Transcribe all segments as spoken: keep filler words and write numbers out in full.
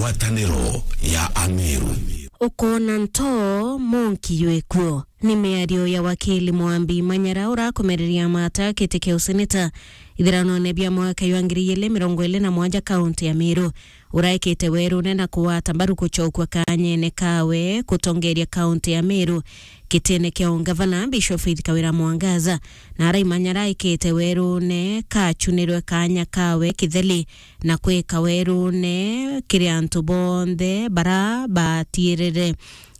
Ngwataniro ya Ameru. Ukoona nto, monki ywe kuo. Ni miario ya wakili Mwambi Manyara urakomereria mata kiti kia useneta ithiranone bia mwaka jwa ngiri igiri mirongo iri na mwanja kaunti ya Meru. Uraikite werune na kugwata mbaru gucokua kanyene kawe gutongeria kaunti ya Meru gitine kia ungavana, Bishop Faith Kawira Mwangaza, na araimanya araikite werune kachunirwe kanya kawe kitheli na kwika werune kiri antu bonthe bara batiirire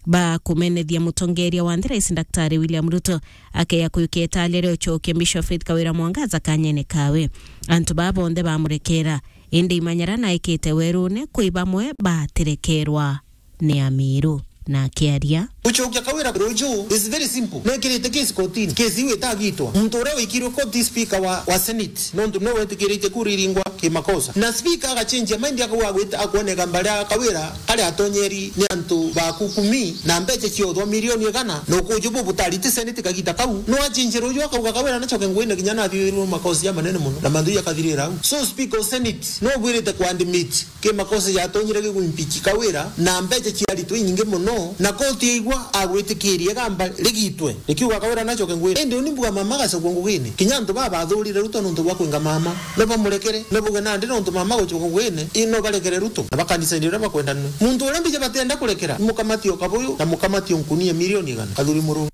ba kumenethia mutongeria wa nthi, Rais Daktari William Ruto. Akeya kuyukia italia ria ucokia Bishop Faith Kawira Mwangaza kanyene kawe. Antu baa bonthe bamurekera, indi imanyara naikite werune kwi bamwe batirekerwa ni Amiru. Na akiaria, gucokia Kawira ruju is very simple. Nekirite case kotini. Case iu itagitwa. Muntu uria wikirwe koti speaker wa, wa Senate, nontu niwe wetikirite kura iringwa kimakosa. Na speaker agacenjia mind, akauga agwita, akwoneka mbari ya Kawira ari atonyeri ni antu ba kukumi na mbeca ciothwa milioni igana, na ukuju bu butari ti Senate kagita kau. No acenjia ruju akauga Kawira nacoke nguine kinya nathiurirwe makosa jamanene mono, na mantu jakathirira au. So speaker o Senate no bwirite kwandimiti kimakosa jatonyire gigwimpichi Kawira, na mbeca ciaritwe inyingi mono, na koti yaigua agwitikiria igamba rigitwe, rikiuga Kawira nacoke nguine. Indi uni mbuga mama agacokwa ngugine. Kinya antu baa bathurire Ruto nontu bwa kwinga mama, no bamurekere, no bauge nandi nontu mama agucokwa ngugine, ii no barekere Ruto. Na bakanisa indi uria bakwenda nwe. Muntu uria mbija batienda kurekera, mukamati o kabuyu, na mukamati o nkunia milioni igana. Kathuri Murungi.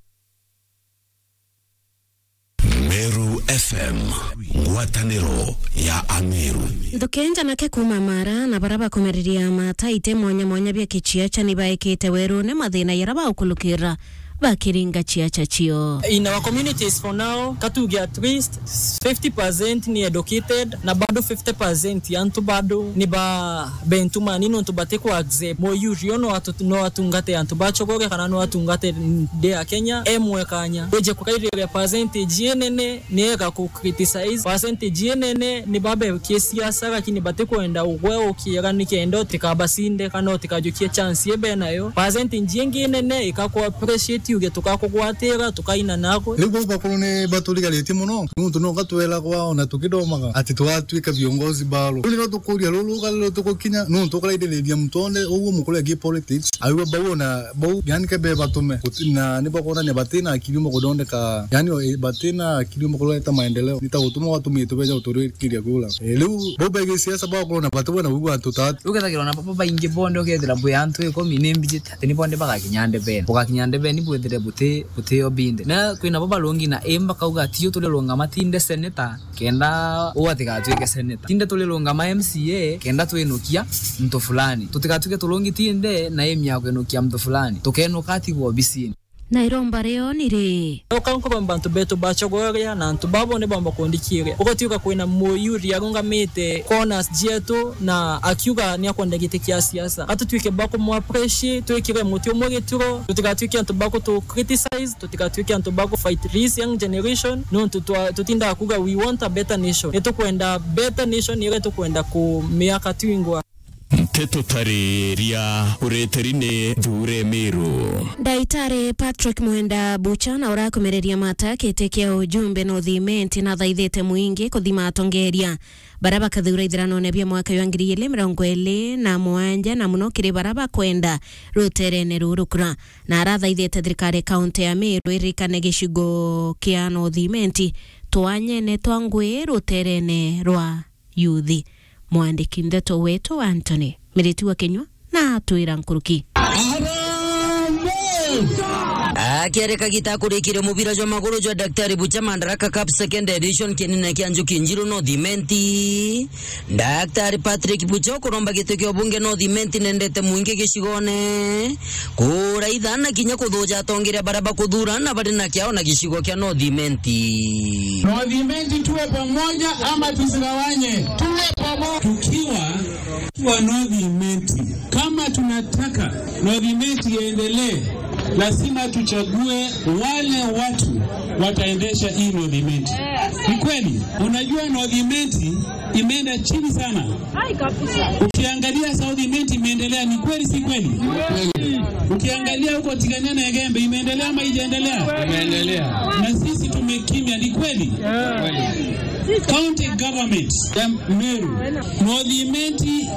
Meru F M, ngwataniro ya Ameru. Nthuki njanake kuuma Mara na bara bakumariria mata ite mwanya mwanya bia kiciaca ni baikite werune mathina yara baukulukira bakiringa ciaca cio. In our communities for now, katuge at least fifty percent ni educated, na bado fifty percent ya antu bado ni ba bentumani nontu bati ku accept muyurio no atu-, no atungate antu ba Chogoria kana no atungate nthi ya Kenya emwe kanya. Wije kukairiria percentage inene ni ega ku criticize, percentage inene ni babekie siasa lakini batikwenda ugwe ukiega nikenda utikabasinde kana utikajukie chance ibe nayo. Percentage ingi inene ikaku appreciate uge tukakugwatira tukaina nagwe. Riu bau bakuru ni baturigaritie mono. Nontu no gatwelagwa ona tukithomaga ati tugatwika viongozi baro. Riu nio tukuria ruru ruga ruria tugukinya, nontu ukaraithiriria muntu onde uguo mukuru agi politics, aigua bau ona bau, yani kebe batume. Guti-, na ni bakwonania batina akili umwe kuthondeka, yani o, batina akili umwe kureta maendeleo. Ni ta gutuma watumitwe beja guturikiria kura. E, riu bau begi siasa bakorwo na batu bana uigua antu tatu. Ukethagirwa na baba baingi bonde, ukethira bwi antu ikumi ni mbijite ati ni bonde bagakinya ndebeni. Bugakinya ndebeni bwithire buti butio binde. Na kwina bo barungi na imba kauga, "Tio turirungama tinde seneta kenda uu atigatwike seneta. Tinde turirungama M C A kenda twinukia muntu fulani. Tutigatwike turungi tinde na aim ya kwinukia muntu fulani. Tukenuka atigwe obisini." Na iromba rio ni ri? Uka nkuromba antu betu ba Chogoria na antu babo ni bomba kundikiria. Ugatuika kwina muyuri arungamite corners jietu na akiuga ni akwenda giti kia siasa. Gatutwike ba kumu appreciate, twikire muti umwe gituro, tutigatwike antu ba kutu criticize, tutigatwike antu ba ku fight this young generation, nontu twa-, tutindaga kuga we want a better nation. Nitukwenda better nation, iria tukwenda ku miaka twingwa. Nteto tariria ureteri ni Thure Miru. Ndaitari Patrick Mwenda Bucha na urakumereria mata kiti kia ujumbe North Imenti nathaithite muingi kuthima atongeria bara bakathura ithiranone bia mwaka jwa ngiri igiri mirongo iri na mugwanja, na muno kiri bara bakwenda ruterene ruru kura. Na arathaithite thirikari kaunti ya Meru irikane gicigo kia North Imenti twanyene twa ngui ruterene rwa yuthi. Mwandiki ndeto wetu Anthony Miriti wa Kinyua na atwira nkuruki. Akiaria kagita akurikiria mubira jwa maguru jwa Daktari Bucha Madaraka Cup Second Edition, kienine kia Njuki Njiru North Imenti, Daktari Patrick Bucha ukuromba giti kia ubunge North Imenti nendete muingi gicigone kuraitha na kinya kuthuja atongeria bara bakuthura na bari na kiao na gicigo kia North Imenti. North Imenti tuwe pamoja ama tusigawanye? Tuwe pamoja. Tukiwa, tukiwa North Imenti, kama tunataka North Imenti iendelee, lazima tuchague wale watu wataendesha hii North Imenti. Ni kweli, unajua North Imenti imeenda chini sana. Ukiangalia South Imenti imeendelea, ni kweli si kweli? Ukiangalia huko Tigania na Igembe imeendelea ama haijaendelea? Imeendelea. Na sisi tumekimya, ni kweli? County government ya Meru, North Imenti